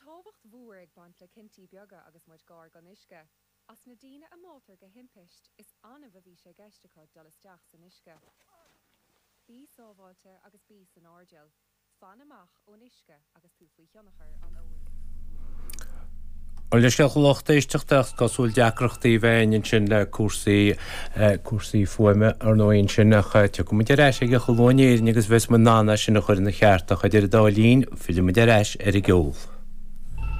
tábhacht mhór ag baint le cinntí beaga agus muid gar don uisce. As na daoine a mbáitear go himpist, is annamh a bhí sé i gceist acu dul isteach san uisce. Bí sábháilte agus bí san airdeall. Fan amach ón uisce agus tú faoi thionchar an óil. Bhuel, leithscéal a lucht éisteachta ach is cosúil deacrachtaí a bheith againn ansin le cúrsaí, cúrsaí fuaime ar ndóigh ansin ach tiocfaidh muid ar ais aige chomh luath in Éirinn agus bheas muid in ann é sin a chur ina cheart ach idir an dá linn, fillfidh muid ar ais ar an gceol.